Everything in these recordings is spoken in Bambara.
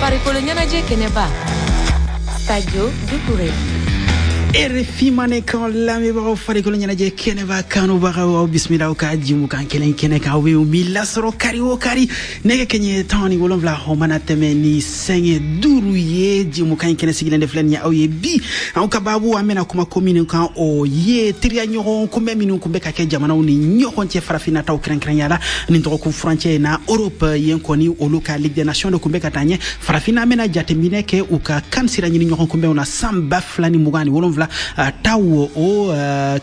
Farikolo ɲɛnajɛ kɛnɛba, Sadio Dukure. RFI Mandenkan lamɛnbagaw, farikolo ɲɛnajɛ kɛnɛba kanubagaw, aw bisimila aw ka jimukan kelen kɛnɛ kan, aw bɛ min lasɔrɔ kari o kari nɛgɛ kɛɲɛ 17, o mana tɛmɛ ni sanga 5 ye. Jimukan in kɛnɛ sigilen de filɛ nin ye aw ye bi. Anw ka baabu, an bɛna kuma ko minnu kan, o ye teriya ɲɔgɔn kunbɛn minnu kun bɛ ka kɛ jamanaw ni ɲɔgɔn cɛ, farafinna taw kɛrɛnkɛrɛnya la nin dɔgɔkun furancɛ in na. Europe yen kɔni, olu ka Ligue des Nations de kun bɛ ka taa ɲɛ. Farafinna, an bɛna jateminɛ kɛ u ka kan sira ɲini ɲɔgɔn kunbɛnw na san 2027 taw, o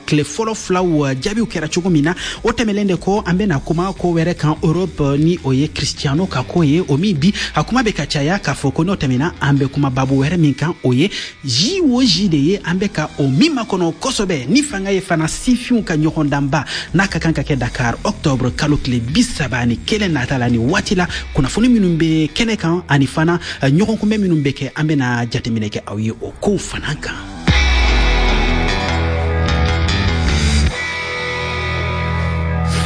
tile fɔlɔ filaw jaabiw kɛra cogo min na. O tɛmɛlen de kɔ, an bɛna kuma ko wɛrɛ kan Europe, ni o ye Cristiano ka ko ye, o min bi a kuma bɛ ka caya k'a fɔ ko n'o tɛmɛna, an bɛ kuma babu wɛrɛ min kan, o ye JOJ de ye, an bɛ ka o min makɔnɔ kosɛbɛ ni fanga ye fana sifinw ka ɲɔgɔndanba n'a ka kan ka kɛ Dakar octobre kalo tile 31 nata la. Ni waati la, kunnafoni minnu bɛ kɛnɛ kan ani fana ɲɔgɔn kunbɛn minnu bɛ kɛ, an bɛna jateminɛ kɛ aw ye o kow fana kan.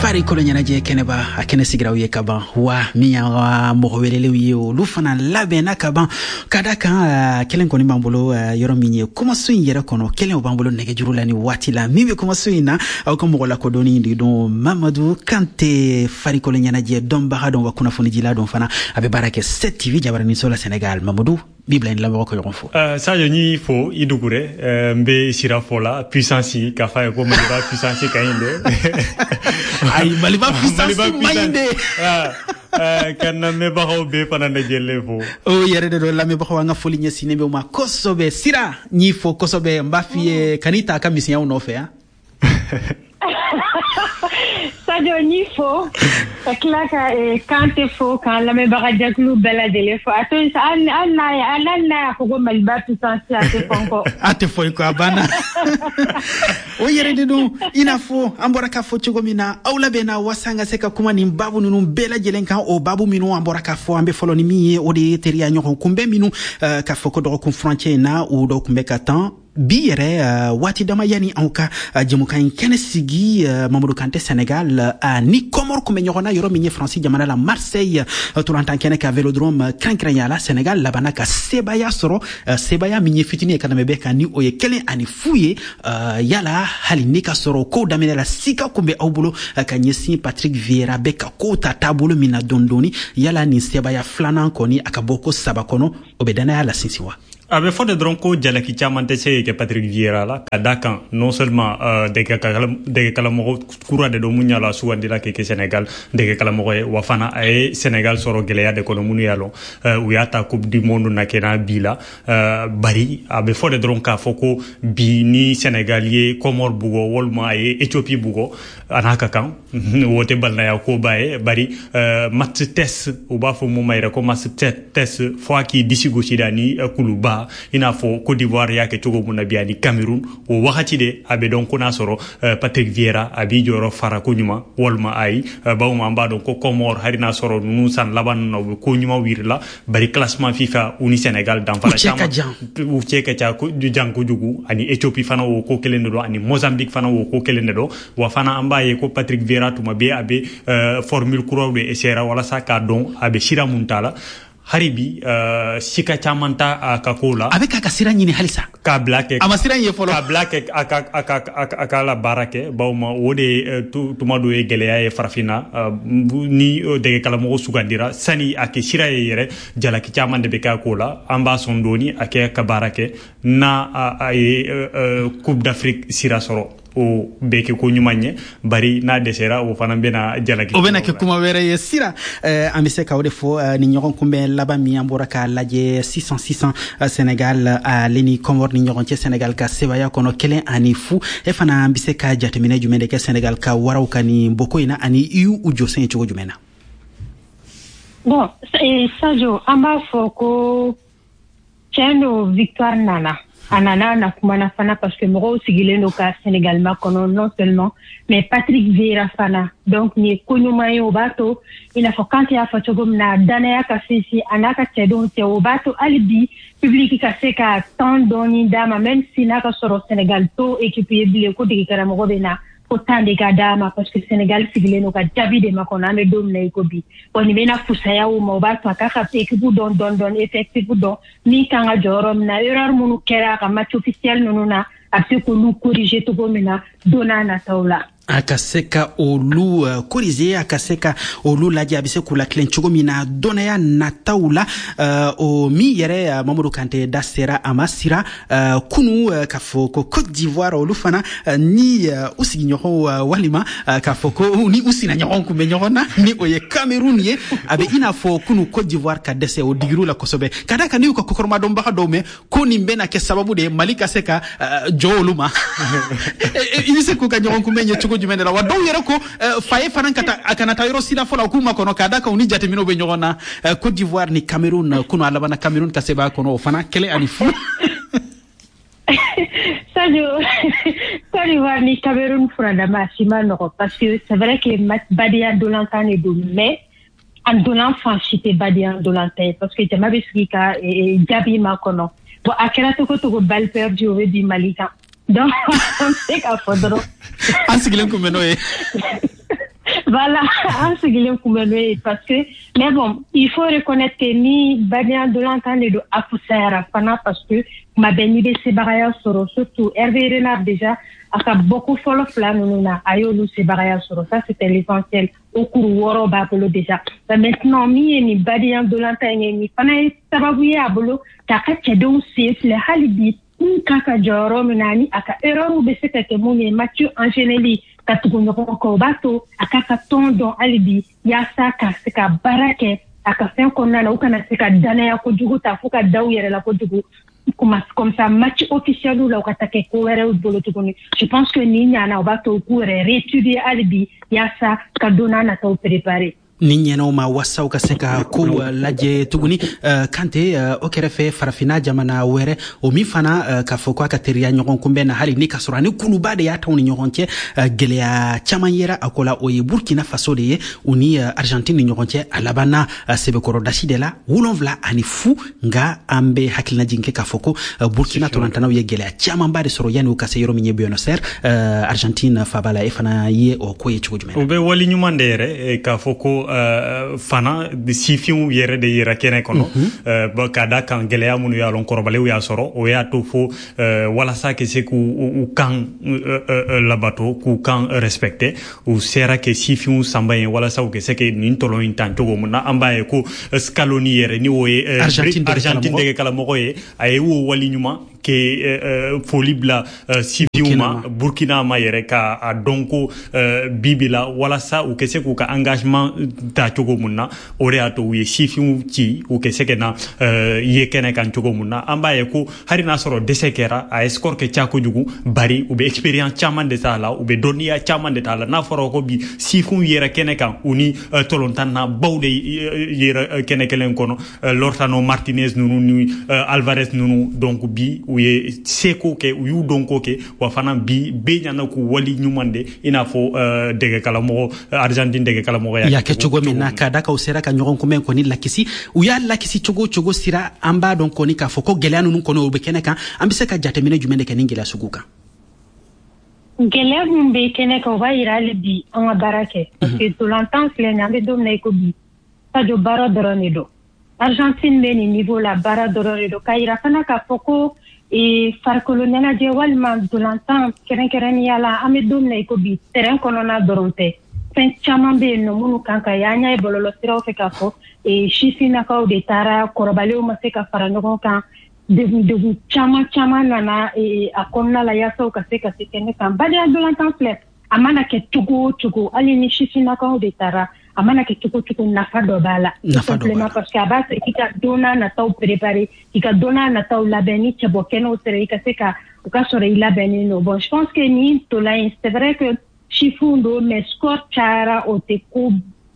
Farikolo ɲɛnajɛ kɛnɛba, a kɛnɛ sigiraw ye ka ban wa min y'an ka mɔgɔ welelenw ye, olu fana labɛnna ka ban. Ka da kan, kelen kɔni b'an bolo yɔrɔ min ye kumaso in yɛrɛ kɔnɔ, kelen o b'an bolo nɛgɛjuru la ni waati la. Min bɛ kumaso in na, aw ka mɔgɔ lakodɔnni de don, Mamadu Kante, farikolo ɲɛnajɛ dɔnbaga dɔn wa kunnafonidila dɔn fana, a bɛ baara kɛ 7 TV jabaraninso la Senegal. Mamadu, bi bila lamɛnbagaw ka ɲɔgɔn fo. Sadio, n'i fo i Dukure, n bɛ sira fɔ la puissance k'a f'a ye ko Maliba puissance ka ɲi dɛ. Ayi, Maliba puissance man ɲi dɛ. Ka lamɛnbagaw bɛɛ fana lajɛlen fo. O yɛrɛ de don, lamɛnbagaw, an ka foli ɲɛsinnen bɛ u ma kosɛbɛ. Sira, n y'i fo kosɛbɛ, n b'a f'i ye kan'i ta a ka misɛnyaw nɔfɛ yan. Sadio, n'i fo ka tila ka Kante fo, k'an lamɛnbaga jɛkulu bɛɛ lajɛlen fo. A to yen sa, hali n'a y'a fɔ ko Maliba puissance, a tɛ fɔ n kɔ. A tɛ fɔ i kɔ, a banna. O yɛrɛ de don, i n'a fɔ an bɔra k'a fɔ cogo min na, aw labɛnna waasa an ka se ka kuma nin baabu ninnu bɛɛ lajɛlen kan. O baabu minnu an bɔra k'a fɔ, an bɛ fɔlɔ ni min ye, o de ye teriya ɲɔgɔn kunbɛn minnu k'a fɔ ko dɔgɔkun furancɛ in na, o dɔw kun bɛ ka tan bi yɛrɛ waati dama yanni anw ka jɛmukan in kɛnɛ sigi. Mamadu Kante, Senegal ni Comore kun bɛ ɲɔgɔn na yɔrɔ min ye Faransi jamana la, Marseille tolantan kɛnɛ ka Vélodrome kɛrɛnkɛrɛnya la, Senegal labanna ka sebaya sɔrɔ, sebaya min ye fitinin ye ka tɛmɛ bɛɛ kan, ni o ye 1-0 ye. Yala hali ni ka sɔrɔ kow daminɛ la, sika kun bɛ aw bolo ka ɲɛsin Patrick Vieira bɛ ka kow ta taabolo min na dɔɔni dɔɔni, yala nin sebaya filanan kɔni, a ka bɔ ko saba kɔnɔ, o bɛ danaya la sinsin wa? A bɛ fɔ de dɔrɔn ko jalaki caman tɛ se kɛ Patrick Vieira la, ka da kan non seulement dɛgɛkalamɔgɔ kura de don mun y'a la sugandila kɛ Sénégal dɛgɛkalamɔgɔ ye, wa fana a ye Sénégal sɔrɔ gɛlɛya de kɔnɔ minnu y'a lɔn u y'a ta Coupe du monde na kɛ bi la. Bari a bɛ fɔ de dɔrɔn k'a fɔ ko bi ni Sénégal ye Comore bugɔ walima a ye Éthiopie bugɔ, a n'a ka kan, o tɛ balimaya koba ye. Bari match test, u b'a fɔ mun ma yɛrɛ ko match test, fo a k'i disi gosi da ni kuluba, i n'a fɔ Côte d'Ivoire y'a kɛ cogo mun na bi ani Cameroun. O wagati de a bɛ dɔn ko n'a sɔrɔ Patrick Vieira a b'i jɔyɔrɔ fara ko ɲuman walima ayi. Bawo an b'a dɔn ko Comore, hali n'a sɔrɔ ninnu san laban ninnu na u bɛ ko ɲuman yiri la, bari classement FIFA, u ni Sénégal danfara caman, u cɛ ka ca jan kojugu. Ani Éthiopie fana, o ko kelen de don, ani Mozambique fana, o ko kelen de don. Wa fana an b'a ye ko Patrick Vieira tuma bɛɛ a bɛ formule kuraw de essayer walasa k'a dɔn a bɛ sira mun ta la. Hali bi sika caman ta a ka ko la. A bɛ k'a ka sira ɲini halisa. K'a bila kɛ. A ma sira ye fɔlɔ. K'a bila kɛ a ka la baara kɛ, bawo ma o de tuma dɔ ye gɛlɛya ye farafinna ni dɛgɛkalamɔgɔ sugandira, sani a kɛ sira ye yɛrɛ, jalaki caman de bɛ kɛ a ko la. An b'a sɔn dɔɔni a kɛ ka baara kɛ, n'a a ye Coupe d'Afrique sira sɔrɔ, o bɛ kɛ ko ɲuman ye. Bari n'a dɛsɛra, o fana bɛna jalaki. O bɛna kɛ kuma wɛrɛ ye. Sira, an bɛ se ka o de fɔ, ni ɲɔgɔn kunbɛn laban min an bɔra k'a lajɛ sisan sisan, Senegal ale ni Comore ni ɲɔgɔn cɛ, Senegal ka sebaya kɔnɔ 1-0, e fana an bɛ se ka jateminɛ jumɛn de kɛ Senegal ka waraw ka nin bɔko in na, ani i y'u jɔsen ye cogo jumɛn na? Bon, Sadio, an b'a fɔ ko tiɲɛ don, victoire nana. A nana na kumana fana parce que mɔgɔw sigilen don ka Sénégal makɔnɔ, non seulement mais Patrick Vieira fana. Donc nin ye ko ɲuman ye, o b'a to i n'a fɔ Kante y'a fɔ cogo min na, danaya ka sinsin a n'a ka cɛdenw cɛ, o b'a to hali bi public ka se ka temps dɔɔni d'a ma, même si n'a ka sɔrɔ Sénégal to équipe ye bilen ko dege karamɔgɔ bɛ na. Fo temps de ka d'a ma, parce que Sénégal sigilen don ka jaabi de makɔnɔ. An bɛ don min na i ko bi, bon, nin bɛna fusaya o ma. O b'a to a k'a ka équipe dɔn dɔɔni dɔɔni, effectif dɔn, min kan ka jɔ yɔrɔ min na, erreur minnu kɛra a ka match officiel ninnu na, a bɛ se k'olu corriger cogo min na don n'a nataw la. A ka se ka olu corriger, a ka se ka olu lajɛ, a bɛ se k'u latilen cogo min na dɔnnaya nataw la. O min yɛrɛ, Mamadu Kante da sera a ma sira kunu, k'a fɔ ko Côte d'Ivoire, olu fana ni u sigiɲɔgɔnw, walima k'a fɔ ko ni u sinaɲɔgɔnw kun bɛ ɲɔgɔn na, ni o ye Cameroun ye. A bɛ i n'a fɔ kunu Côte d'Ivoire ka dɛsɛ, o digir'u la kosɛbɛ, ka da kan n'i y'u ka kɔkɔrɔmadɔnbaga dɔw mɛn ko nin bɛna kɛ sababu de ye Mali ka se ka jɔ olu ma. I bɛ se k'u ka ɲɔgɔn kunbɛn ɲɛ cogo jumɛn de la? Wa dɔw yɛrɛ ko Faye fana ka taa, a kana taa yɔrɔ si la fɔlɔ, k'u ma kɔnɔ, k'a da kan u ni jateminɛw bɛ ɲɔgɔn na. Côte d'Ivoire ni Cameroun kunu, a labanna Cameroun ka sebaya kɔnɔ, o fana 1-0. Sadio, Côte d'Ivoire ni Cameroun furadama, a si ma nɔgɔ, parce que c'est vrai que badenya dolantan de don, mais a dolan fan si tɛ badenya dolantan ye, parce que jama bɛ sigi ka jaabi ma kɔnɔ. Bon, a kɛra cogo cogo, balle perdue, o bɛ bin Mali kan. Donc an bɛ se k'a fɔ dɔrɔn An sigilen kun bɛ n'o ye. Voilà, an sigilen kun bɛ n'o ye, parce que, mais bon, il faut reconnaître que ni badenya dolantan de don, a fusayara fana, parce que tuma bɛɛ n'i bɛ sebagaya sɔrɔ, surtout Hervé Renard, déjà a ka bɔko fɔlɔ fila ninnu na, a y'olu sebagaya sɔrɔ, ça c'était l'essentiel. O kuru 6 b'a bolo déjà. Mais maintenant, min ye nin badenya dolantan in ye, nin fana ye sababu ye a bolo k'a ka cɛdenw sen filɛ hali bi, min kan ka jɔ yɔrɔ min na, ani a ka erreur bɛ se ka kɛ mun ye, match enchaîneli ka tugu ɲɔgɔn kɔ. O b'a to a k'a ka tɔn dɔn hali bi, yaasa ka se ka baara kɛ a ka fɛn kɔnɔna na, u kana se ka danaya kojugu ta fo ka da u yɛrɛ la kojugu, comme ça match officiel la, u ka taa kɛ ko wɛrɛw bolo tuguni. Je pense que nin ɲana, o b'a to u k'u yɛrɛ réétudier hali bi, yaasa ka don n'a nataw préparer. Ni ɲɛnaw ma wasaw ka se ka kow lajɛ tuguni. Kante, o kɛrɛfɛ, Farafinna jamana wɛrɛ, o min fana k'a fɔ ko a ka teriya ɲɔgɔn kunbɛn na, hali ni ka sɔrɔ ani kuluba de y'a taw ni ɲɔgɔn cɛ, gɛlɛya caman yera a ko la, o ye Burkina Faso de ye. U ni Argentine ni ɲɔgɔn cɛ, a labanna sɛbɛkɔrɔ dasi de la, 7-0. Nka an bɛ hakilinajigin kɛ k'a fɔ ko Burkina tolantanaw ye gɛlɛya camanba de sɔrɔ yanni u ka se yɔrɔ min ye Buenos Aires, Argentine faba la. E fana ye o ko ye cogo jumɛn? O bɛ wali ɲuman de yɛrɛ k'a fɔ ko fana sifinw yɛrɛ de yera kɛnɛ kɔnɔ, ka da kan gɛlɛya minnu y'a lɔn kɔrɔbalenw y'a sɔrɔ, o y'a to fo walasa ka se k'u kan labato, k'u kan respecter, u sera ke sifinw sanba ye walasa u ka se ke nin tɔlɔ in tan cogo min na. An b'a ye ko Scaloni yɛrɛ, ni o ye Argentine dege karamɔgɔ ye, a ye o wali ɲuman ke foli bila sifinw ma, Burkina ma yɛrɛ, ka a dɔn ko bibi la, walasa u ka se k'u ka engagement ta cogo mun na. O de y'a to u ye sifinw ci, u ka se ka na ye kɛnɛ kan cogo mun na. An b'a ye ko hali n'a sɔrɔ dɛsɛ kɛra, a ye score kɛ ca kojugu, bari u bɛ expérience caman de t'a la, u bɛ dɔnniya caman de t'a la. N'a fɔra ko bi sifinw yɛrɛ kɛnɛ kan, u ni tɔlɔntan baw de yɛrɛ kɛnɛ kelen kɔnɔ, Lautaro Martinez ninnu ni Alvarez ninnu. Donc bi u ye seko kɛ, u y'u dɔnko kɛ, wa fana bi bɛɛ ɲana k'u wali ɲuman de, i n'a fɔ dɛgɛkalamɔgɔ, Argentine dɛgɛkalamɔgɔ y'a kɛ cogo min na, k'a da kan u sera ka ɲɔgɔn kunbɛn kɔni lakisi. U y'a lakisi cogo o cogo sira, an b'a dɔn kɔni k'a fɔ ko gɛlɛya ninnu kɔni, o bɛ kɛnɛ kan. An bɛ se ka jateminɛ jumɛn de kɛ nin gɛlɛya sugu kan? Gɛlɛya min bɛ kɛnɛ kan, o b'a yira hali bi an ka baara kɛ, parce que ntolantan filɛ nin ye, an bɛ don min na i ko bi, Sadio, baara dɔrɔn de don. Argentine bɛ nin niveau la, baara dɔrɔn de don. K'a yira fana k'a fɔ ko farikolo ɲɛnajɛ walima ntolantan kɛrɛnkɛrɛnnenya la, an bɛ don min na i ko bi, terrain kɔnɔna dɔrɔn tɛ, fɛn caman bɛ yen nɔ minnu kan ka ye. An y'a ye bɔlɔlɔsiraw fɛ k'a fɔ sifinnakaw de taara, kɔrɔbalenw ma se ka fara ɲɔgɔn kan, degun degun caman caman nana a kɔnɔna la yaasa u ka se ka se kɛnɛ kan. Badenya ntolantan filɛ, a mana kɛ cogo o cogo, hali ni sifinnakaw de taara, a mana kɛ cogo o cogo, nafa dɔ b'a la. Nafa dɔ b'a la, parce que a b'a to i ka don n'a nataw préparer, i ka don n'a nataw labɛn. Ni cɛbɔ kɛnɛw sera, i ka se ka u ka sɔrɔ i labɛnnen don. Bon, je pense que nin ntolan in, c'est vrai que sifinw don, mais score cayara, o tɛ ko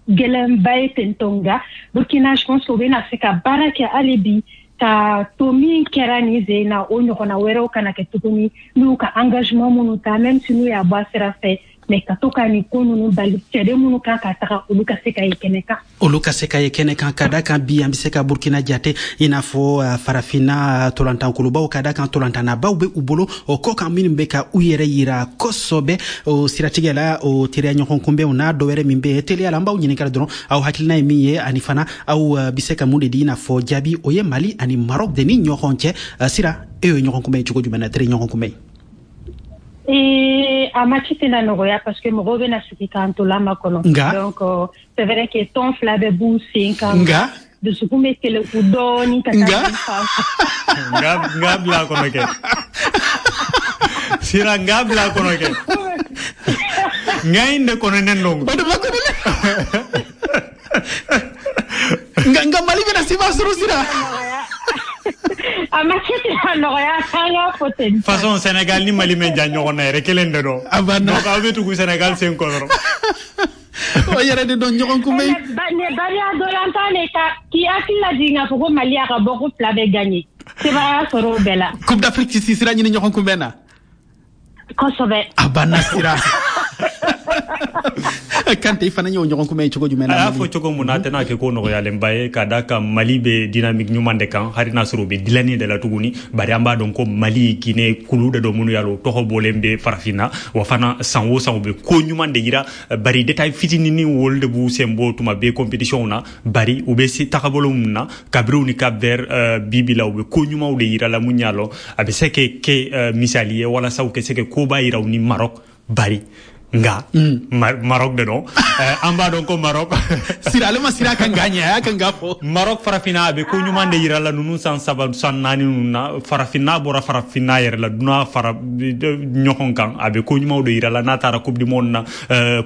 gɛlɛnba ye ten tɔ. Nka Burkina, je pense que u bɛna se ka baara kɛ hali bi ka to min kɛra nin sen na, o ɲɔgɔnna wɛrɛw kana kɛ tuguni, n'u ka engagement minnu ta, même si n'u y'a bɔ a sira fɛ. Mais ka to ka nin ko ninnu bali, cɛden minnu kan ka taga, olu ka se ka ye kɛnɛ kan. Olu ka se ka ye kɛnɛ kan, ka da kan bi an bɛ se ka Burkina jate i n'a fɔ farafinna tolantankulubaw, ka da kan tolantannabaw bɛ u bolo o kɔ kan minnu bɛ ka u yɛrɛ yira kosɛbɛ. O siratigɛ la, o teriya ɲɔgɔn kunbɛnw n'a dɔ wɛrɛ min bɛ yen, teliya la an b'aw ɲininka dɔrɔn, aw hakilina ye min ye, ani fana aw bɛ se ka mun de di i n'a fɔ jaabi, o ye Mali ani Maroc de ni ɲɔgɔn cɛ. Sira, e y'o ɲɔgɔn kunbɛn cogo jumɛn na, teri ɲɔgɔn kunbɛn? A match tɛna nɔgɔya parce que mɔgɔw bɛna sigi k'an to lama kɔnɔ. Nka donc c'est vrai que tɔn fila bɛɛ b'u sen kan. Nka dusukun bɛ keleku dɔɔni ka taa fan fɛ. Nka bila a kɔnɔ kɛ. Sira, nka bila a kɔnɔ kɛ. Nka in de kɔnɔnen don. O de ma kɔnɔnen. Nka Mali bɛna seba sɔrɔ, Sira. A match tɛna nɔgɔya, an k'a fɔ ten. Façon Sénégal ni Mali mɛ ja ɲɔgɔn na yɛrɛ, kelen de don. A banna. Donc aw bɛ tugu Sénégal sen kɔ dɔrɔn. O yɛrɛ de dɔn ɲɔgɔn kunbɛn. Ne bariya dolantan de ka k'i hakili lajigin k'a fɔ ko Mali y'a ka bɔ ko fila bɛɛ gagné. Sebaya sɔrɔ o bɛɛ la. Coupe d'Afrique ti sira ɲini ɲɔgɔn kunbɛn na. Kosɛbɛ. A banna, Sira. Kante, i fana y'o ɲɔgɔn kunbɛn cogo jumɛn na? A y'a fɔ cogo mun na, a tɛna kɛ ko nɔgɔyalenba ye, ka da kan Mali bɛ dynamique ɲuman de kan, hali n'a sɔrɔ u bɛ dilanni de la tuguni. Bari an b'a dɔn ko Mali, Guinée, kulu de don minnu y'a lɔn, o tɔgɔ bɔlen bɛ farafinna wa fana, san o san u bɛ ko ɲuman de yira. Bari détail fitininin olu de b'u sen bɔ tuma bɛɛ compétition na. Bari u bɛ se tagabolo mun na kabiri ni Cap Vert bi bi la, u bɛ ko ɲumanw de yira la mun y'a lɔn, a bɛ se ka kɛ misali ye walasa u ka se ka koba yira u ni Maroc. Bari nga Maroc de don, an b'a dɔn ko Maroc Sira, ale ma sira kan ka ɲɛ, a y'a kan ka fɔ. Maroc, farafinna, a bɛ ko ɲuman de yira la ninnu san 3, san 4 ninnu na. Farafinna bɔra farafinna yɛrɛ la, dunan fara ɲɔgɔn kan, a bɛ ko ɲumanw de yira la. N'a taara Coupe du monde na,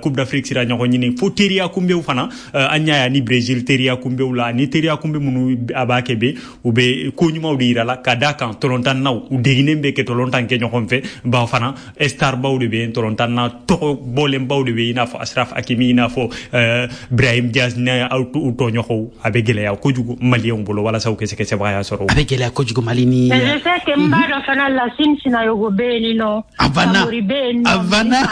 Coupe d'Afrique sira ɲɔgɔn ɲini, fo teriya kunbɛnw fana, an y'a ye ni Brésil teriya kunbɛnw la, ni teriya kunbɛn minnu a b'a kɛ bɛ, u bɛ ko ɲumanw de yira la, ka d'a kan tolontannaw u deginen bɛ kɛ tolontan kɛ ɲɔgɔn fɛ. Bawo fana star baw de bɛ yen, tolontanna tɔgɔ bɔlenbaw de bɛ, i n'a fɔ Ashraf Hakimi, i n'a fɔ Brahim Diaz ni aw u tɔɲɔgɔnw. A bɛ gɛlɛya kojugu maliyɛnw bolo walasa u ka se ka sebagaya sɔrɔ. A bɛ gɛlɛya kojugu Mali ni. Mais je sais que n b'a dɔn fana Lassine Sinayogo bɛ yen nɔ. A banna. Samori bɛ yen nɔ. A banna.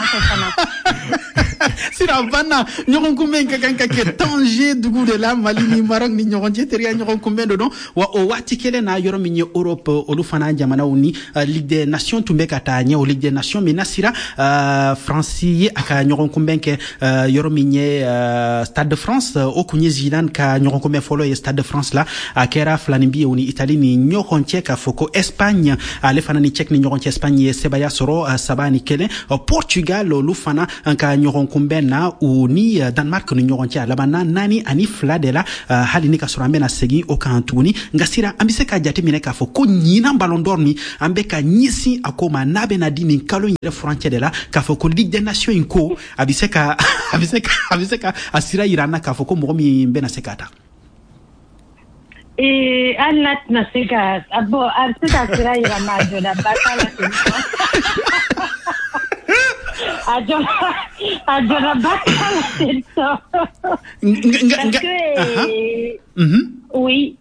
Sira, a banna. Ɲɔgɔn kunbɛn ka kan ka kɛ Tanger dugu de la, Mali ni Maroc ni ɲɔgɔn cɛ, teriya ɲɔgɔn kunbɛn de don. Wa o waati kelen na, yɔrɔ min ye Europe, olu fana jamanaw ni Ligue des Nations tun bɛ ka taa ɲɛ. O Ligue des Nations min na, sira, France ye a ka ɲɔgɔn kunbɛn kɛ yɔrɔ min ye Stade de France. O kun ye Zidane ka ɲɔgɔn kunbɛn fɔlɔ ye Stade de France la. A kɛra filanin bi ye o ni Italie ni ɲɔgɔn cɛ. K'a fɔ ko Espagne ale fana ni Tchèque ni ɲɔgɔn cɛ, Espagne ye sebaya sɔrɔ 3-1. Portugal, olu fana ka ɲɔgɔn kunbɛn na, u ni Danemark ni ɲɔgɔn cɛ, a labanna 4-2 de la, hali ni ka sɔrɔ an bɛna segin o kan tuguni. Nka sira, an bɛ se ka jateminɛ k'a fɔ ko ɲinan Ballon d'Or ni an bɛ ka ɲɛsin a ko ma, n'a bɛna di nin kalo in yɛrɛ furancɛ de la, k'a fɔ ko Ligue des Nations in ko a bɛ se ka a sira yira an na k'a fɔ ko mɔgɔ min bɛna se k'a ta. Hali n'a tɛna se ka bon, a bɛ se ka sira yira, ma a jɔdaba t'a la ten tɔ. A jɔdaba t'a la ten tɔ. Parce que oui.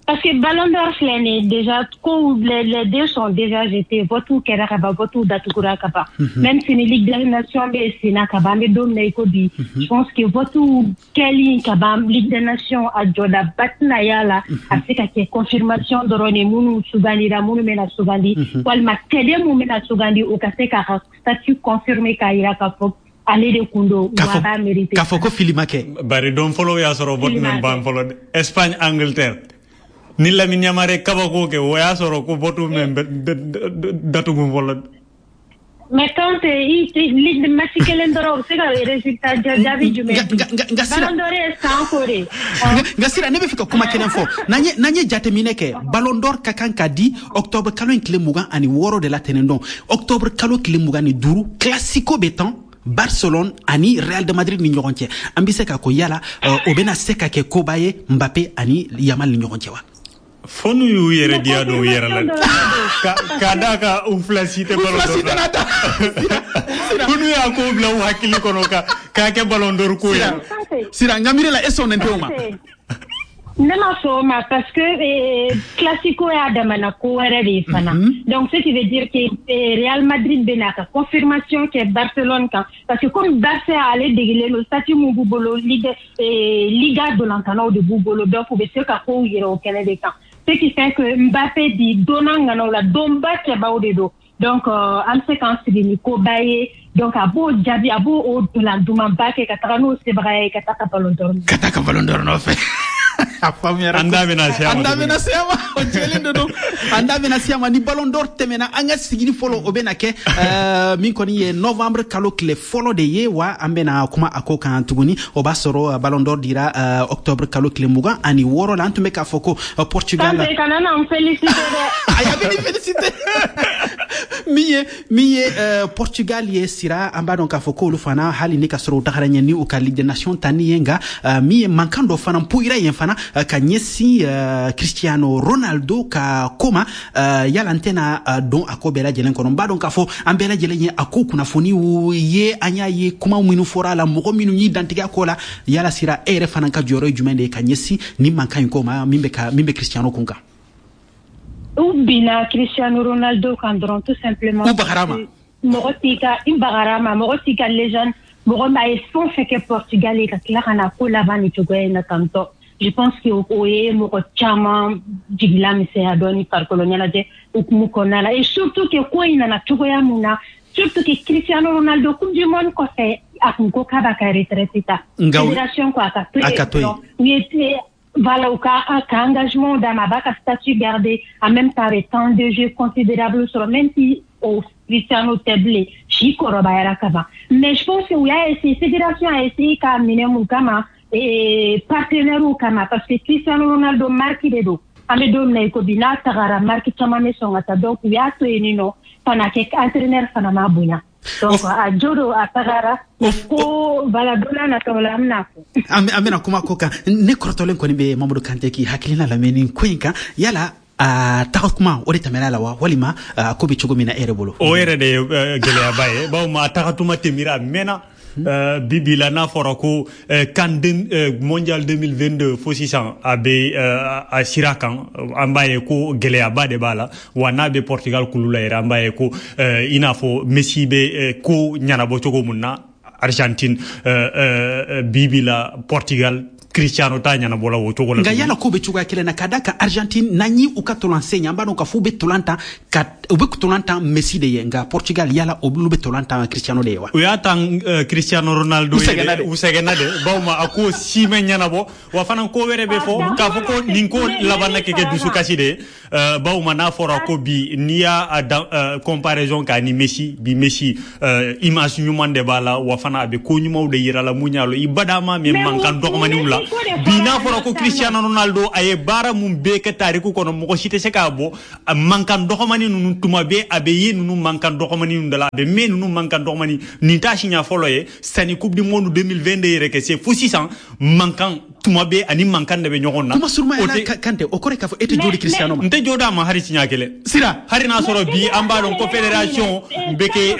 Parce que Ballon d'Or filɛ nin ye déjà, ko les deux sont déjà jetés, vote kɛra ka ban, vote datugura ka ban. Même si ni Ligue des Nations bɛ sen na ka ban, an bɛ don min na i ko bi, je pense que vote kɛli ka ban Ligue des Nations, a jɔdaba tɛna y'a la. A bɛ se ka kɛ confirmation dɔrɔn de, minnu sugandira, minnu bɛna sugandi, walima cɛden mun bɛna sugandi, o ka se k'a ka statut confirmer k'a yira k'a fɔ ale de kun don, wa a b'a mérité. K'a fɔ ko fili ma kɛ. Bari don fɔlɔ y'a sɔrɔ vote min ban fɔlɔ, Espagne Angleterre ni Lamine Yamal kabako kɛ, o y'a sɔrɔ ko vote min datugu fɔlɔ. Mais quand i match kelen dɔrɔn, o bɛ se ka résultat jaabi jumɛn di? Nka Sira, Ballon d'Or ye san ko de. Nka Sira, ne bɛ fɛ ka kuma kelen fɔ. N'an ye jateminɛ kɛ, Ballon d'Or ka kan ka di octobre kalo in tile 26 de la tɛnɛn don. Octobre kalo tile 25, Classico bɛ tan Barcelone ani Real de Madrid ni ɲɔgɔn cɛ. An bɛ se ka ko yala o bɛna se ka kɛ koba ye Mbappe ani Yamal ni ɲɔgɔn cɛ wa? Fo n'u y'u yɛrɛ diya dɔw yɛrɛ la, ka d'a kan u fila si tɛ Ballon d'Or la. Fo n'u y'a ko bila u hakili kɔnɔ ka k'a kɛ Ballon d'Or ko ye. Sira, n ka miiri la, e sɔnnen tɛ o ma. Ne ma sɔn o ma parce que Classico y'a damana ko wɛrɛ de ye fana. Donc ce qui veut dire que Real Madrid bɛna ka confirmation kɛ Barcelone kan, parce que comme Barça ale degelen don, statut mun b'u bolo, Liga dolantannaw de b'u bolo, donc u bɛ se ka kow yira o kɛnɛ de kan. Ce qui fait que Mbappé bi donna ŋanaw la, donba cɛbaw de don. Donc an bɛ se k'an sigi ni koba ye. Donc a b'o jaabi, a b'o o dolan dumanba kɛ ka taga n'o sebaga ye ka taa ka ballon d'or. Ka taa ka ballon d'or nɔfɛ. A faamuyara. An da bɛna se a ma. An da bɛna se a ma, o jɛlen de don. An da bɛna se a ma ni ballon d'or tɛmɛna. An ka sigili fɔlɔ, o bɛna kɛ min kɔni ye novembre kalo tile fɔlɔ de ye wa, an bɛna kuma a ko kan tuguni. O b'a sɔrɔ ballon d'or dira octobre kalo tile 26 la. An tun bɛ k'a fɔ ko Portugal. Kante, kana na n féliciter dɛ. Ayi, a bɛ ni féliciter. Min ye Portugal ye, sira, an b'a dɔn k'a fɔ k'olu fana, hali ni ka sɔrɔ u tagara ɲɛ ni u ka Ligue des Nations tani ye, nka min ye mankan dɔ fana poyira yen fana ka ɲɛsin Cristiano Ronaldo ka ko ma. Yala n tɛna don a ko bɛɛ lajɛlen kɔnɔ. n b'a dɔn k'a fɔ an bɛɛ lajɛlen ye a ko kunnafoniw ye, an y'a ye kuma minnu fɔra a la, mɔgɔ minnu y'i dantigɛ a ko la. Yala sira, e yɛrɛ fana ka jɔyɔrɔ ye jumɛn de ye ka ɲɛsin nin mankan in ko ma, min bɛ Cristiano kun kan? U binna Cristiano Ronaldo kan dɔrɔn, tout simplement. U bagara ma. Mɔgɔ t'i ka, i bagara ma, mɔgɔ t'i ka légende, mɔgɔ min a ye fɛn o fɛn kɛ Portugal ye, ka tila ka na ko laban nin cogoya in na tantɔ. Je pense que o ye mɔgɔ caman jigila misɛnya dɔɔni farikolo ɲɛnajɛ hukumu kɔnɔna la, et surtout que ko in nana cogoya mun na, surtout que Cristiano Ronaldo, Coupe du monde kɔfɛ, a kun ko k'a b'a ka retraite ta. Fédération ko a ka to yen. A ka to yen. U ye, voilà, u ka engagement d'a ma, a b'a ka statut garder, en même temps a bɛ temps de jeu considérable sɔrɔ, même si o Cristiano tɛ bilen, si kɔrɔbayara ka ban. Mais je pense que u y'a essayé, fédération a essayé k'a minɛ mun kama? Partenaire kama, parce que Cristiano Ronaldo marque de don. An bɛ don min na i ko bi, n'a tagara, marque caman bɛ sɔn ka taa. Donc u y'a to yen nɔ fana kɛ entraîneur fana m'a bonya. Donc a jo don, a tagara ko, voilà, don n'a nataw la an bɛna fɔ. An bɛna kuma ko kan. Ne kɔrɔtɔlen kɔni bɛ Mamadu Kante k'i hakilina lamɛn nin ko in kan. Yala a taga kuma o de tɛmɛna la wa, walima a ko bɛ cogo min na e yɛrɛ bolo? O yɛrɛ de ye gɛlɛyaba ye, bawo a tagatuma tɛmɛra, a mɛnna. Bi bi la, n'a fɔra ko CAN mondial 2022 fo sisan a bɛ a sira kan, an b'a ye ko gɛlɛyaba de b'a la wa. N'a bɛ Portugal kulu la yɛrɛ, an b'a ye ko i n'a fɔ Messi bɛ ko ɲɛnabɔ cogo mun na Argentine, bi bi la Portugal, Cristiano t'a ɲɛnabɔla o cogo la. Nka yala ko bɛ cogoya kelen na, ka da kan Argentine, n'an ye u ka tolan sen, an b'a dɔn k'a fɔ u bɛ tolan tan ka u bɛ tolan tan Messi de ye. Nka Portugal, yala olu bɛ tolan tan Cristiano de ye wa? U y'a tan Cristiano Ronaldo ye dɛ, u sɛgɛnna de, bawo a ko si ma ɲɛnabɔ wa. Fana ko wɛrɛ bɛ fɔ k'a fɔ ko nin ko laban na kɛ dusukasi de ye, bawo n'a fɔra ko bi n'i y'a comparaison k'a ni Messi, bi Messi image ɲuman de b'a la wa, fana a bɛ ko ɲumanw de yira la mun y'a la i badama mais mankan dɔgɔmaninw la. Bi n'a fɔra ko Cristiano Ronaldo a ye baara mun bɛɛ kɛ tariku kɔnɔ, mɔgɔ si tɛ se k'a bɔ a mankan dɔgɔmani ninnu. Tuma bɛɛ a bɛ ye ninnu mankan dɔgɔmani ninnu da la, a bɛ mɛn ninnu mankan dɔgɔmani. Nin t'a siɲɛ fɔlɔ ye. Sani Coupe du monde 2022 yɛrɛ kɛ se, fo sisan mankan tuma bɛɛ ani mankan de bɛ ɲɔgɔn na. Kuma suruma yɛrɛ, Kante, o kɔrɔ ye k'a fɔ e tɛ jo di Cristiano ma? N tɛ jo d'a ma hali siɲɛ kelen. Sira. Hali n'a sɔrɔ bi an b'a dɔn ko fédération bɛ kɛ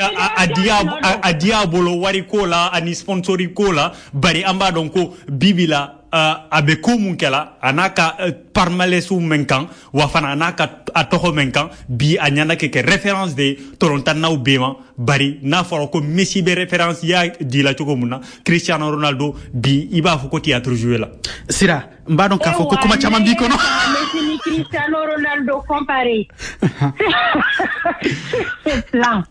a di a bolo wari ko la ani sponsori ko la, bari an b'a dɔn ko bi bi la a bɛ ko mun kɛla, a n'a ka palmarès min kan wa, fana a n'a ka a tɔgɔ min kan, bi a ɲɛna kɛ référence de tolontannaw bɛɛ ma. Bari n'a fɔra ko Messi bɛ référence ya di la cogo mun na, Cristiano Ronaldo bi i b'a fɔ ko théâtre joué la. Sira, n b'a dɔn k'a fɔ ko kuma caman b'i kɔnɔ. Messi ni Cristiano Ronaldo comparé, c'est plein.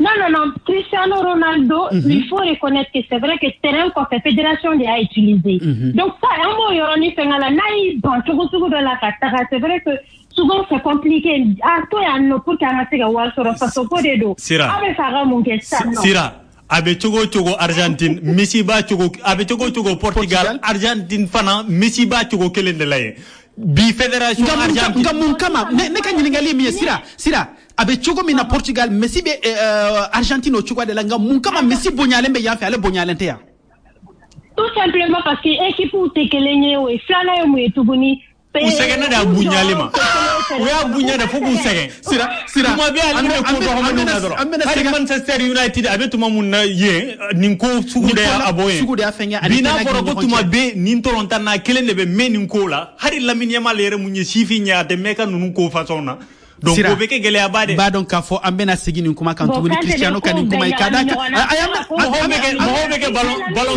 Non, non, non. Cristiano Ronaldo, il faut reconnaître que c'est vrai que terrain kɔfɛ, fédération de y'a utilisé. Donc ça, an b'o yɔrɔnin fɛngɛ la, n'a y'i ban cogo sugu dɔ la ka taga, c'est vrai que souvent c'est compliqué. A to yan nɔ pour que an ka se ka wari sɔrɔ, faso ko de don. Sira. Aw bɛ fɛ a ka mun kɛ sisan nɔ? Sira, a bɛ cogo o cogo Argentine, Messi b'a cogo, a bɛ cogo o cogo Portugal, Argentine fana Messi b'a cogo kelen de la yen. Bi fédération Argentine. Nka mun kama? Ne ka ɲininkali ye min ye, Sira, Sira, a bɛ cogo min na Portugal, Messi bɛ Argentine o cogoya de la. Nka mun kama Messi bonyalen bɛ yan fɛ, ale bonyalen tɛ yan? Tout simplement parce que équipe tɛ kelen ye. O ye filanan ye mun ye tuguni? U sɛgɛnna de a bonyali ma. U y'a bonya de fo k'u sɛgɛn. Sira, Sira. Tuma bɛɛ ale bɛ ko dɔgɔmaninw na dɔrɔn. Hali Manchester United, a bɛ tuma mun na yen, nin ko sugu de y'a bɔ yen. Sugu de y'a fɛn kɛ ani Bi n'a fɔra ko tuma bɛɛ nin tɔlɔntan na kelen de bɛ mɛn nin ko la, hali Lamine Yamal yɛrɛ mun ye sifin ye, a tɛ mɛn ka ninnu ko façon na. Donc o bɛ kɛ gɛlɛyaba de. B'a dɔn k'a fɔ an bɛna segin nin kuma kan tuguni, Cristiano ka nin kuma in ka d'a kan. Mɔgɔw bɛ kɛ ballon ballon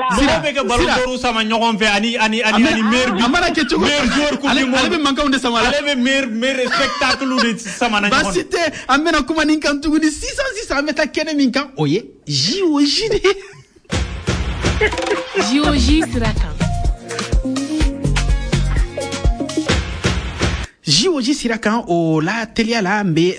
mɔgɔw bɛ kɛ ballon d'or sama ɲɔgɔn fɛ ani meilleur A mana kɛ cogo, meilleur joueur coupe du monde. Ale bɛ mankanw de sama la. Ale bɛ meilleur spectacle de sama na ɲɔgɔn. Baasi tɛ, an bɛna kuma nin kan tuguni. Sisan sisan, an bɛ taa kɛnɛ min kan, o ye JOJ de ye. JOJ sira kan. JOJ sira kan, o la teliya la, an bɛ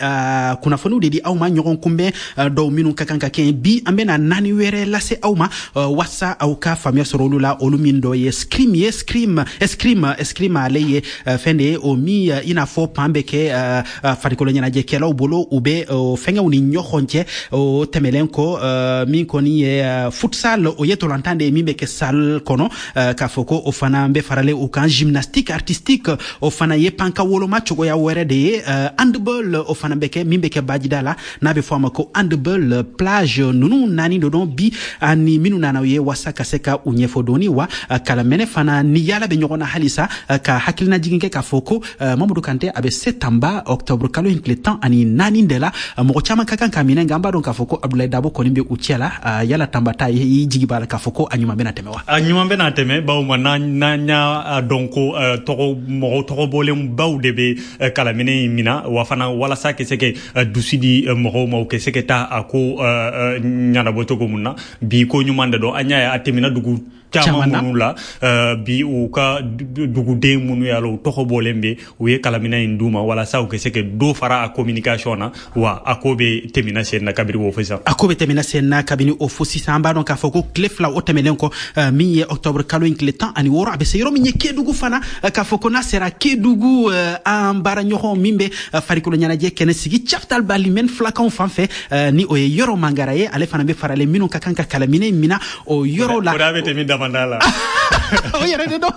kunnafoniw de di aw ma, ɲɔgɔn kunbɛn dɔw minnu ka kan ka kɛ bi. An bɛna naani wɛrɛ lase aw ma wasa aw ka faamuya sɔrɔ olu la. Olu min dɔ ye escrime ye, escrime escrime escrime, ale ye fɛn de ye o min i n'a fɔ pan bɛ kɛ farikolo ɲɛnajɛkɛlaw bolo, u bɛ fɛngɛw ni ɲɔgɔn cɛ. O tɛmɛlen kɔ, min kɔni ye futsal, o ye tolantan de ye min bɛ kɛ salle kɔnɔ, k'a fɔ ko o fana bɛ faralen o kan. Gymnastique artistique, o fana ye panka woloma cogoya wɛrɛ de ye. Handball, o fana bɛ kɛ min bɛ kɛ bajida la, n'a bɛ fɔ a ma ko handball plage. Ninnu naani de don bi ani minnu nana u ye wasa ka se ka u ɲɛfɔ dɔɔni. Wa kalamɛnɛ fana ni yala bɛ ɲɔgɔn na halisa, ka hakilinajigin kɛ k'a fɔ ko Mamadu Kante a bɛ se Tanba octobre kalo in tile 14 de la. Mɔgɔ caman ka kan ka minɛ, nka an b'a dɔn k'a fɔ ko Abdoulaye Dabo kɔni bɛ u cɛ la. Yala Tanba ta, i jigi b'a la k'a fɔ ko a ɲuman bɛna tɛmɛ wa? A ɲuman bɛna tɛmɛ, bawo ma n'an y'a dɔn ko tɔgɔ mɔgɔ tɔgɔ bɔlen baw de bɛ kalaminɛ in mina, wa fana walasa ka se ka dusu di mɔgɔw ma, u ka se ka taa a ko ɲɛnabɔ cogo mun na. Bi ko ɲuman de don, an y'a ye a tɛmɛna dugu caman minnu la bi, u ka duguden minnu y'a la u tɔgɔ bɔlen bɛ, u ye kalaminɛ in d'u ma walasa u ka se ka dɔ fara a communication na. Wa a ko bɛ tɛmɛna sen na kabini o fo sisan. A ko bɛ tɛmɛna sen na kabini o fo sisan. An b'a dɔn k'a fɔ ko tile 2 o tɛmɛnen kɔ, min ye octobre kalo in tile 16, a bɛ se yɔrɔ min ye Kédougou fana, k'a fɔ ko n'a sera Kédougou, an baaraɲɔgɔn min bɛ farikolo ɲɛnajɛ kɛnɛ sigi Chaptal Balimɛn filakanw fan fɛ, ni o ye Yɔrɔ Mangara ye, ale fana bɛ faralen minnu ka kan ka kalaminɛ in mina o yɔrɔ la. O bɛ tɛmɛ damanda la. O yɛrɛ de don.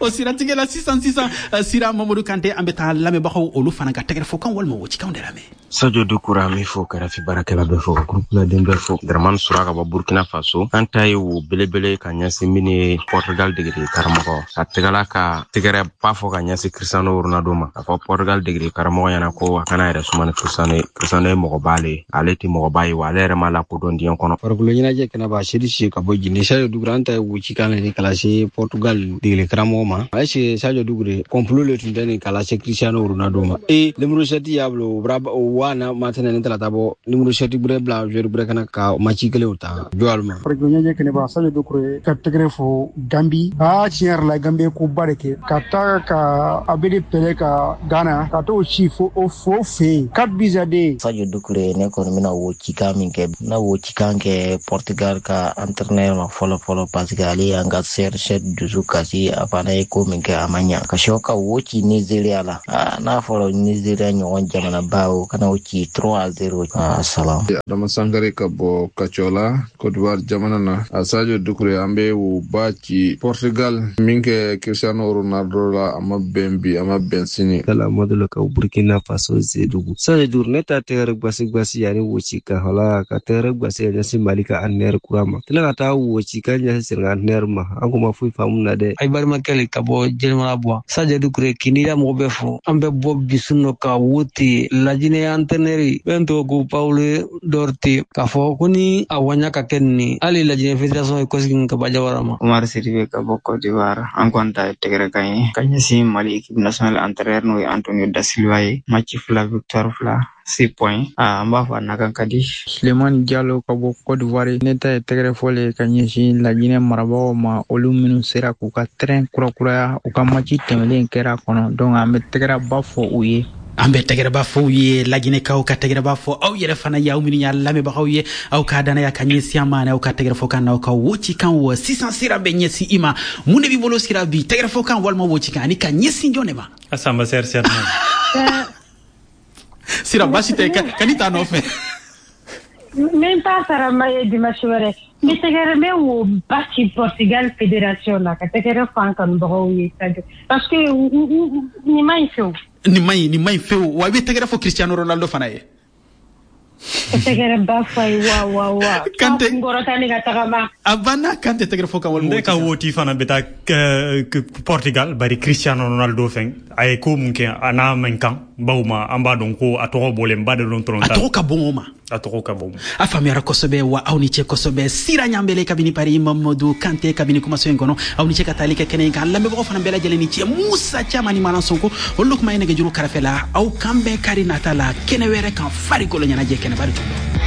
O siratigɛ la sisan sisan, Sira Mamadu Kante, an bɛ taa lamɛnbagaw olu fana ka tɛgɛrɛfɔkan walima wocikanw de lamɛn. Sadio Doucouré, an b'i fo, kɛrɛfɛ baarakɛla bɛɛ fo, ka groupe bɛɛ fo. Dramane Sura ka bɔ Burkina Faso. An ta ye wo belebele ka ɲɛsin min ye Portugal degeli karamɔgɔ ka tɛgɛla ka tɛgɛrɛ ba fɔ ka ɲɛsin Cristiano Ronaldo ma, k'a fɔ Portugal degeli karamɔgɔ ɲɛna ko a kana yɛrɛ suma ni Cristiano ye. Cristiano ye mɔgɔba le ye, ale tɛ mɔgɔba ye, wa ale yɛrɛ ma lakodɔn diɲɛ kɔnɔ. Farikolo ɲɛnajɛ kɛnɛba, Seri Si ka bɔ Guinée. Sadio Doucouré, an ta ye wo cikan de ka lase Portugal degeli karamɔgɔ ma. A ye Sadio Doucouré complot le tun tɛ nin ka lase Cristiano Ronaldo ma. E numéro 7 y'a bolo, o wa na matɛnɛ ni talata bɔ numéro 7 gbɛrɛ bila joueur gbɛrɛ kana ka match kelenw ta jɔ ma. Farikolo ɲɛnajɛ kɛnɛba, Sadio Doucouré, ka tɛgɛrɛ fɔ Gambi. Aa, tiɲɛ yɛrɛ la, Gambi ye koba de kɛ ka taa ka Abedi Pele ka Ghana ka t'o ci fo o fo fɛ yen 4 buts à 2. Sadio Doucouré, ne kɔni bɛna wo cikan min kɛ, n wo cikan kɛ Portugal ka entraîneur ma fɔlɔ fɔlɔ, parce que ale y'an ka CR7 dusu kasi. A fana ye ko min kɛ, a ma ɲa ka sɔ ka wo ci Nigeria la. N'a fɔra Nigeria ɲɔgɔn jamanaba, o kana o ci 3-0. Salam. Adama Sankare ka bɔ Kacɔla, Côte d'Ivoire jamana na. A Sadio Doucouré, an bɛ wo ba ci Portugal min kɛ Cristiano Ronaldo la, a ma bɛn bi, a ma bɛn sini. Kala Madolo ka Burkina Faso, Zedugu. Sadio Doucouré, ne ta tɛgɛrɛ gbasi gbasi ani wo ci ka hala ka tɛgɛrɛ gbasi ka ɲɛsin Mali ka entraîneur kura ma, tila ka taa wo ci ka ɲɛsin Senegal entraîneur ma, an ko ma foyi faamu na dɛ. Ay balimakɛ ka bɔ Jɛnɛmara Buwa, Sadio Doucouré, k'i da mɔgɔ bɛɛ fo. An bɛ bɔ bisu nɔ ka wo ten Lajinɛ entraîneur bɛn tɔgɔ ko Paulo Duarte, k'a fɔ ko ni a waɲa ka kɛ nin, hali Lajinɛ fédération ye kɔsegin ka bɔ Jawara ma. Umar Sidibe ka bɔ Côte d'Ivoire, an kɔni ta ye tɛgɛrɛ kan ye ka ɲɛsin Mali équipe nationale entraîneur n'o ye Antonio da Silva ye. Match 2, victoire 2, 6 points, an b'a fɔ a nakan ka di. Sulemani Jalo ka bɔ Côte d'Ivoire, ne ta ye tɛgɛrɛ fɔlen ka ɲɛsin Lajinɛ marabagaw ma, olu minnu sera k'u ka terrain kurakuraya, u ka match tɛmɛlen kɛra kɔnɔ, donc an bɛ tɛgɛrɛba fɔ u ye. An bɛ tɛgɛrɛba fɔ u ye, Laginɛkaw ka tɛgɛrɛba fɔ aw yɛrɛ fana ye, aw minnu y'a lamɛnbagaw ye, aw ka danaya ka ɲɛsin an ma, ani aw ka tɛgɛrɛfɔ kan n'aw ka wocikan. Wa sisan, Sira bɛ ɲɛsin i ma. Mun de b'i bolo, Sira, bi, tɛgɛrɛfɔ kan walima wocikan, ani ka ɲɛsin jɔn de ma? A Samba sɛri. Sira, baasi tɛ, ka ni t'a nɔfɛ. N t'a sara ma ye dimanche wɛrɛ. N bɛ tɛgɛrɛ, n bɛ wo ba ci Portugal fédération la, ka tɛgɛrɛ fɔ an kanubagaw ye, parce que nin ma ɲi fewu. Nin man ɲi, nin man ɲi fewu. Wa i bɛ tɛgɛrɛ fɔ Cristiano Ronaldo fana ye. Tɛgɛrɛ ba fɔ a ye, wa wa wa. Kante. Kunkɔrɔta ni ka tagama. A banna. Kante, tɛgɛrɛ fɔ kan walima. Ne ka woti fana bɛ taa Portugal, bari Cristiano Ronaldo fɛn a ye ko mun kɛ, a n'a man kan, bawo ma an b'a dɔn ko a tɔgɔ bɔlen ba de don tɔrɔn. A tɔgɔ ka bon o ma. A tɔgɔ ka bon. A faamuyara kosɛbɛ. Wa aw ni ce kosɛbɛ. Sira Ɲanbele kabini Paris, Mamadu Kante kabini kumaso in kɔnɔ, aw ni ce ka taali kɛ kɛnɛ in kan. Lamɛnbagaw fana bɛɛ lajɛlen ni ce. Musa Caman ni Manan Sonko, olu de kuma ye nɛgɛjuru kɛrɛfɛ la. Aw kan bɛn kari nata la kɛnɛ wɛrɛ kan, farikolo ɲɛnajɛ kɛnɛba de tun don.